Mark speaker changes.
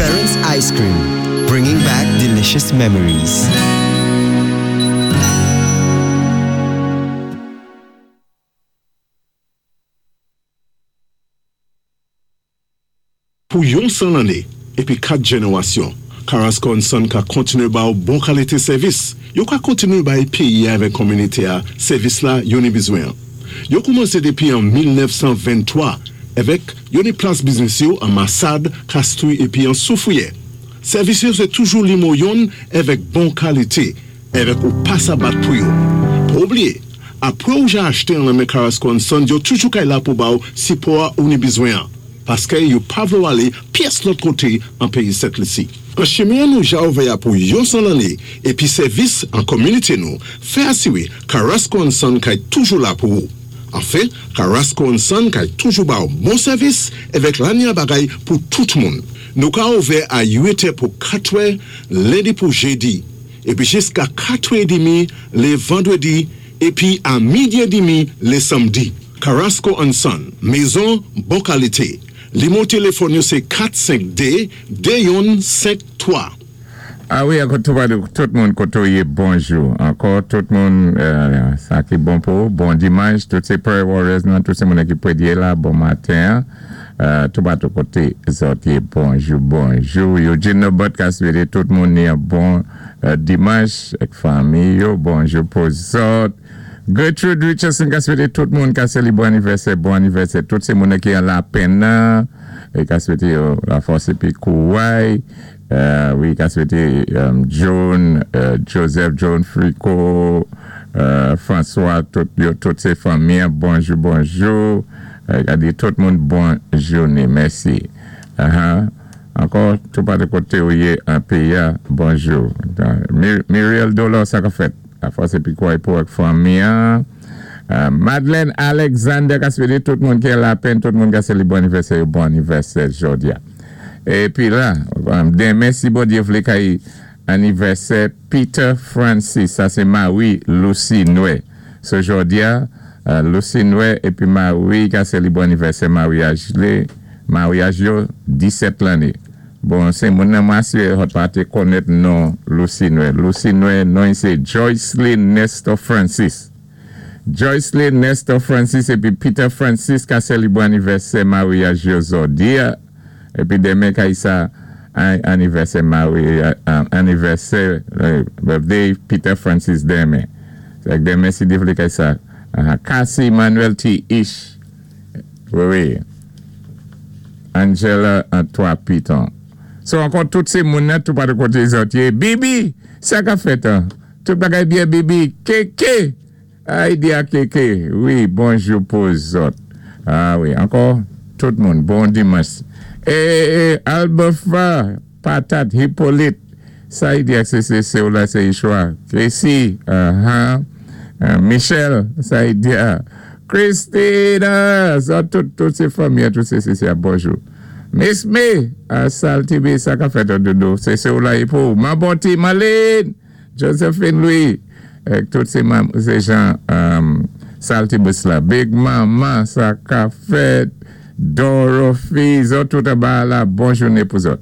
Speaker 1: Ference Ice Cream, bringing back delicious memories.
Speaker 2: Pou yon 100 lanné épi 4 jénéwasyon, Carasco and Son ka kontinué ba ou bon kalité sèvis. Yo ka kontinué bay péyi-a avèk kominité-a sèvis la yo ni bizwen. Yo koumansé dépi an 1923 avèk yo ni plas biznis yo an Masad, Castries épi an Soufrière. Sèvis yo sé toujou nimo yonn avèk bon kalité avèk ou pa sa bat pou yo. Pa oubliyé, apwé ou ja achté an nan men Carasco and Son, yo toujou kay la pou ba ou sipò ou ni bizwen an. Paské yo pa vlé ou alé pyès lòt koté an péyi Sent Lisi. An chimen nou ja ouvè a pou yon 100 lanné épi sèvis an kominité nou, fè asiwé Carasco and Son kay toujou la pou ou. Anfen, Carasco and Son kay toujou ba ou bon sèvis avèk lanya bagay pou tout moun. Nou ka ouvè a 8 è pou 4 è, lendi pou jédi, épi jiska 4 è dimi lé vandwédi, épi a midi é dimi lé sanmdi. Carasco and Son, mézon bon kalité. Nimo téléfòn yo sé 452 2153.
Speaker 3: A wi, ankò tout moun koté ou yé, bonjou. Ankò tout moun, sa ki bon pou, bon dimanch, tout sé prayer warriors nan, tout sé moun ki pwédyé la, bon maten. Tout patou koté zòt yé, bonjou, bonjou. Eugene Nobot ka swété tout moun ni yon bon dimanch, ak fanmi yo, bonjou pou zòt. Gertrude Richardson ka swété tout moun ka sélébwé anivèsè, bon anivèsè. Tout sé moun ki an lapenn nan, é ka swété yo lafòs épi kouway. Wi, ka swété John, Joseph, John Frico, François, tout yo, tout sé fanmi, bonjou, bonjou. Ka di tout moun bon jouné, mèsi. Ankò, tout patou koté ou yé an péyi, bonjou. Muriel Dolor, sa ka fèt. Lafòs épi kouway pou ak fanmi. Madeleine Alexander ka swété tout moun ki an lapenn, tout moun ka sélébwé anivèsè, bon anivèsè jòdi a. Épi la, denmen si Bondyé vlé kay anivèsè Peter Francis, sa sé mari Lucy Noé. So jòdi a, Lucy Noé épi mari ka sélébwé anivèsè maryaj lé, maryaj yo 17 lanné. Bon, sé moun nan mwen asiré zòt pa té konnèt non Lucy Noé. Lucy Noé, non sé Joycelyn Nestor Francis. Joycelyn Nestor Francis épi Peter Francis ka sélébwé anivèsè maryaj yo jòdi a. Épi denmen kay sa anivèsè maryaj anivèsè birthday Peter Francis denmen. Denmen si Dye vlé kay sa. Cassie Manuel T. Ish. Wi. Angela Antoine Piton. So ankò tout sé moun nan tout patou koté zòt yé. Bibi! Sa ka fèt an? Tout bagay byen Bibi? Keke! Ay di a Keke. Wi, bonjou pou zòt. A wi, ankò tout moun bon dimanch. E e Albefa, Patat, Hippolyte. Sa y di ak sé sé ou la sé Ishwa. Tracy, aha. Michel, sa y di a. Christina, sa tout, tout sé fanmi, tout sé sé sé bonjou. Miss Me, a Sal TV, sa ka fèt doudou. Sé sé ou la y pou. Mabonti, Marlene, Josephine Louis, tout sé sé jan Salty Bus la. Big Mama, sa ka fèt. Dorothy, zòt tout anba la, bon jouné pou zòt.